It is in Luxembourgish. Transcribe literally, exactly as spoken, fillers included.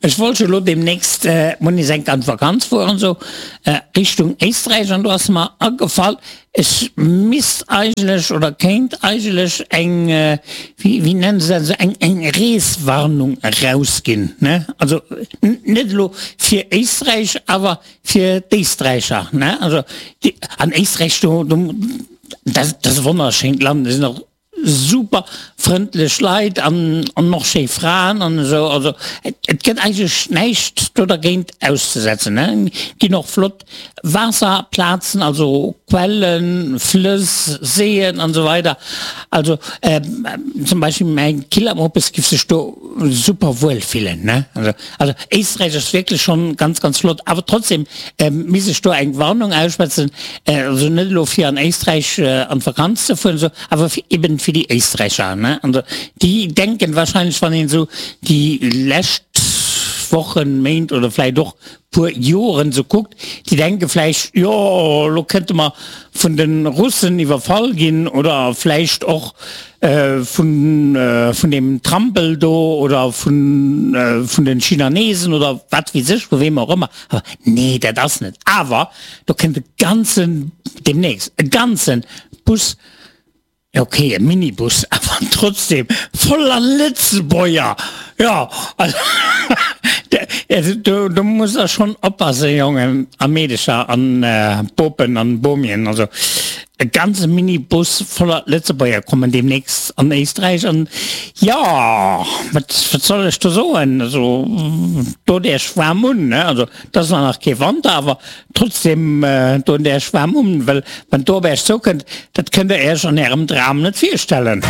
Ech wollt jo elo demnächst mol nees enk an d'Vakanz fueren, sou Richtung Éisträich, an do ass mer agefall, ech misst eigentlech oder kéint eigentlech eng, wéi wéi nennen se dat, esou eng eng Reeswarnung erausginn, ne? Also net elo fir Éisträich, awer fir d'Éisträicher, ne? Also déi an Éisträich do, do dat ass e wonnerschéint Land, do sinn och super frëndlech Leit an an och schéi Fraen an esou, also et gëtt eigentlech näischt do dergéint auszesetzen ne. Et ginn och flott Waasserplazen, also Quellen, Flëss, Séien an esou weider. Also zum Beispill mäi Killermoppes giff sech do super wuel fillen ne. Also also Éisträich ass wierklech schonn ganz ganz flott, awer trotzdem misst ech do eng Warnung ausschwätzen, also net elo fir an Éisträich an d'Vakanz ze fueren esou, awer fir eben fir déi Éisträicher, ne, also déi denken wahrscheinlech, wann een esou déi lescht Wochen, Méint oder vläicht och puer Joren esou kuckt, déi denke vläicht, jo elo kënnte mer vun de Russen iwwerfall ginn oder vläicht och vun vun deem Trampel do oder vun vun de Chinanesen oder wat weess ech, vu weem och ëmmer. Awer nee, dat ass net. Awer do kënnt e ganzen, deemnächst e ganzen Bus, Ok, e Minibus, awer trotzdem voller Lëtzebuerger! Jo, also do do musst der schonn oppassen, Jongen a Meedecher an Bopen an Bomien. Also e ganze Minibus voller Lëtzebuerger kommen deemnächst an Éisträich an jo, wat wat soll ech do soen? Also dot Iech waarm un, ne? Also et ass zwar nach kee Wanter, awer Trotzdem doen der Iech waarm un, well wann do op Iech zoukënnt, dat kënnt der Iech an Ärem Dram net virstellen.